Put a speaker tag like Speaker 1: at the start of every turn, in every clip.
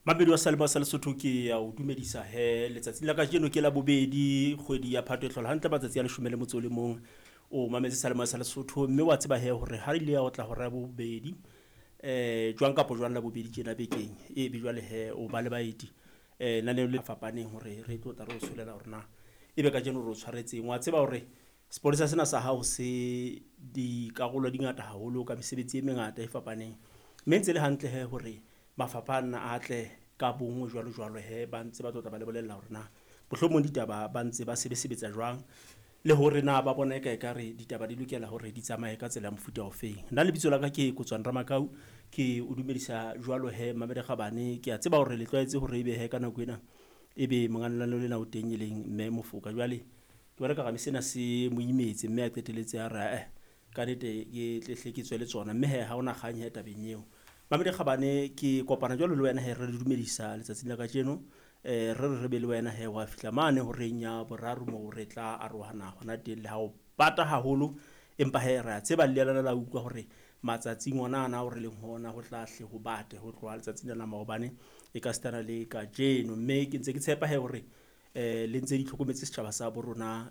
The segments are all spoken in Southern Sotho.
Speaker 1: Mamedi wa Salema sa Lesotho ke ya o dumedisa he letsatsing la kajeno ke la bobedi kgwedi ya Phato e hlola hantle matsatsi a leshome le motso o le mong. O mametse Salema sa Lesotho mme wa tseba he hore ha ile ya otla hora ya bobedi jwang kapa jwang la bobedi tjena bekeng e be jwale he o ba le baeti lenaneo le fapaneng hore re tlo tla re o tsholela hore na ebe kajeno re o tshwaretseng. Wa tseba hore sepolesa sena sa hao se dikarolo di ngata haholo ka mesebetsi e mengata e fapaneng. Mme ntse le hantle he hore mafapha ana a tle ka bonngwe jwalo jwalo he ba ntse ba tlo tla ba le bolella hore na mohlomong ditaba ba ntse ba sebesebetsa jwang le hore na ba bona eka ekare ditaba di lokela hore di tsamaye ka tsela ya mofuta ofeng. Nna lebitso la ka ke Kotswane Ramakau, ke o dumedisa jwalo he Mamedi Kgabane. Ke a tseba hore le tlwaetse hore ebe he ka nako ena ebe monga lenaneo lena o teng e leng mme Mofoka. Jwale ke bona ekare sena se mo imetse mme a qetelletse a re ae ka nnete ke tle hle ke tswe le tsona mme he ha hona kgang he tabeng eo. Mamedi Kgabane ke kopana jwalo le wena he re le dumedisa letsatsing la kajeno. Re re re be le wena he wa fihla mane horeng ya boraro moo re tla arohana hona teng le ha o bata haholo empa he re a tseba le lena la utlwa hore matsatsing ona ana ao re leng ho ona ho tla hle ho bate ho tloha letsatsing la maobane e ka sitana le kajeno. Mme ke ntse ke tshepa he hore le ntse di tlhokometse setjhaba sa bo rona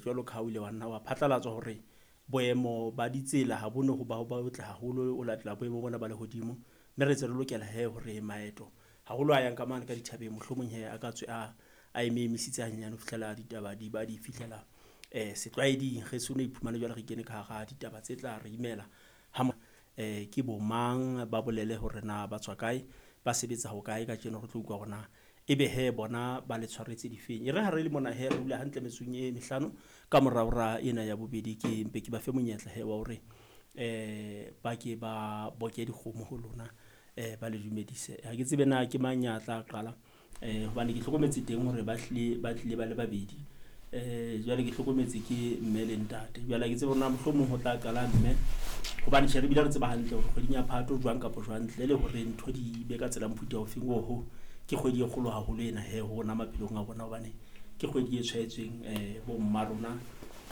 Speaker 1: jwalo ka ha o ile wa nna wa phatlalatswa hore boemo ba ditsela ha bo no ho ba botle haholo o latela boemo bona ba lehodimo. Mme re ntse re lokela he hore maeto haholo a yang ka mane ka dithabeng mohlomong he a ka tswe a eme emisitse hanyenyane ho fihlela ditaba di ba di fihlela setlwaeding. Re so no iphumane jwale re kene ka hara ditaba tse tla re imela ha ke bo mang ba bolele hore na ba tswa kae, ba sebetsa ho kae kajeno re tlo utlwa hore na ebe he bona ba le tshwaretse difeng. E re ha re le mona he re hula hantle metsotsong e mehlano ka mora hora ena ya bobedi ke mpe ke ba fe monyetla he wa hore ba ke ba boke dikgomo ho lona ba le dumedise. Ha ke tsebe na ke mang ya tla qala hobane ke hlokometse teng hore ba hlile ba tlile ba le babedi. Jwale ke hlokometse ke mme le ntate. Jwale ha ke tsebe hore na mohlomong ho tla qala mme hobane tjhe re bile re tseba hantle hore kgweding ya Phato jwang kapa jwang ntle le hore ntho di be ka tsela mofuta ofeng oho ke kgwedi e kgolo haholo ena he ho rona maphelong a rona hobane ke kgwedi e tshwaetsweng bo mma rona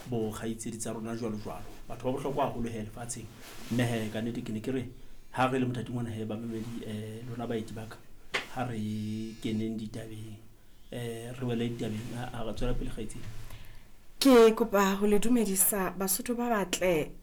Speaker 1: bo kgaitsedi tsa rona jwalo jwalo. Batho ba bohlokwa haholo he lefatsheng. Mme he ka nnete ke ne ke re ha re le mothating ona he bamamedi lona baeti ba ka ha re keneng ditabeng re wele ditabeng a re tswela pele kgaitsedi.
Speaker 2: Ke kopa ho le dumedisa Basotho ba batle.